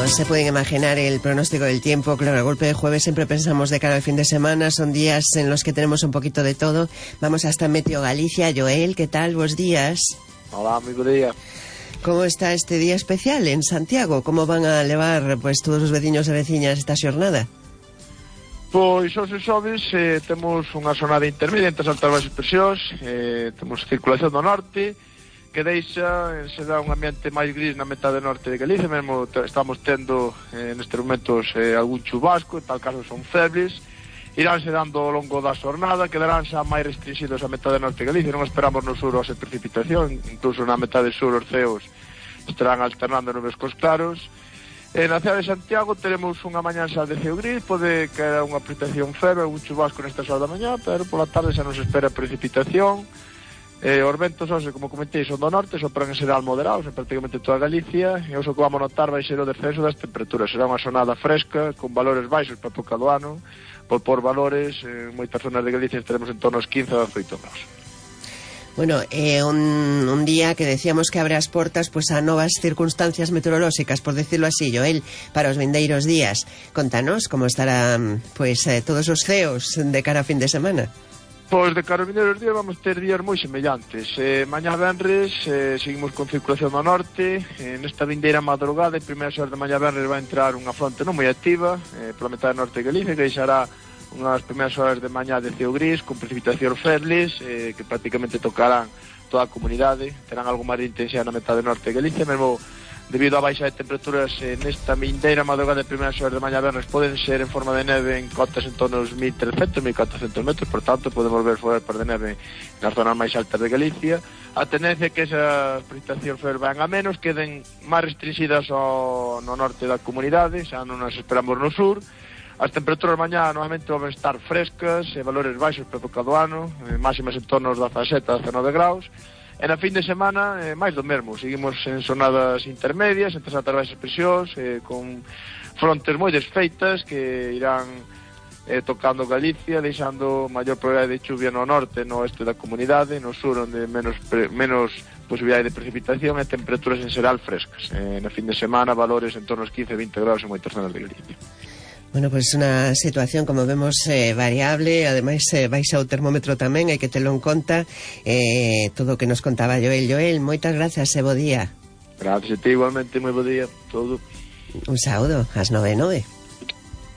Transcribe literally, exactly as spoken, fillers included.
Como se pueden imaginar, el pronóstico del tiempo, claro, a golpe de jueves siempre pensamos de cara al fin de semana, son días en los que tenemos un poquito de todo. Vamos hasta Meteo Galicia. Joel, ¿qué tal? Buenos días. Hola, muy buen día. ¿Cómo está este día especial en Santiago? ¿Cómo van a levar pues todos os veciños e veciñas esta xornada? Pois, hoxe xoves, eh, temos unha xornada intermedia entre as altas baixas presións, eh, temos circulación do norte, que deixa, se dá un ambiente máis gris na metade norte de Galicia, mesmo te, estamos tendo eh, nestes momentos eh, algún chubasco, en tal caso son febles, iránse dando ao longo da xornada, quedarán xa máis restringidos a metade norte de Galicia, non esperamos no sur ose precipitación, incluso na metade sur os ceos estarán alternando nubes cos claros. E na cidade de Santiago teremos unha mañá xa de ceo gris, pode caer unha precipitación feble, algún chubasco nesta hora da mañá, pero pola tarde xa nos espera precipitación. Eh, os ventos, hoxe, como comentei, son do norte, sopran en xeral moderados en prácticamente toda Galicia, e o que vamos notar vai ser o descenso das temperaturas. Será unha xornada fresca, con valores baixos para a época do ano, por, por valores, en moitas zonas de Galicia estaremos en torno aos quince a dezoito graus. Bueno, eh, un, un día que decíamos que abre as portas pues a novas circunstancias meteorolóxicas, por decirlo así, Joel, para os vindeiros días. Contanos como estarán pues eh, todos os ceos de cara a fin de semana. Pois de cara aos vindeiros días vamos ter días moi semellantes. Eh, mañá venres eh, seguimos con circulación do norte, eh, nesta vindeira madrugada e primeiras horas de mañá venres vai entrar unha fronte non moi activa eh, pola metade norte de Galicia, que deixará unhas primeiras horas de mañá de ceo gris con precipitacións febles eh, que prácticamente tocarán toda a comunidade, terán algo máis de intensidade na metade norte de Galicia, mesmo debido á baixa de temperaturas eh, nesta vindeira madrugada de primeiras horas de mañá vernes poden ser en forma de neve en cotas en torno aos mil trescentos, mil catrocentos metros, por tanto podemos ver fogar de neve nas zonas máis altas de Galicia. A tendencia é que esas precipitacións febles van a menos, queden máis restringidas ao, no norte da comunidade, xa non as esperamos no sur. As temperaturas mañá normalmente vão estar frescas, e valores baixos para a época do ano, eh, máximas en torno aos dezasete a dezanove graus. E na fin de semana, eh, máis do mesmo, seguimos en zonadas intermedias, entre as altas baixas presións, eh, con frontes moi desfeitas que irán eh, tocando Galicia, deixando maior probabilidade de chuvia no norte, no oeste da comunidade, no sur onde menos, pre, menos posibilidade de precipitación e temperaturas en xeral frescas. Eh, na fin de semana, valores en torno aos quince a vinte graus en moitas zonas de Galicia. Bueno, pues una situación, como vemos, eh, variable, ademais eh, baixa o termómetro tamén, hai que telo en conta, eh, todo o que nos contaba Joel. Joel, moitas grazas e bo día. Gracias a ti, igualmente, moi bo día, todo. Un saúdo, ás nove e nove.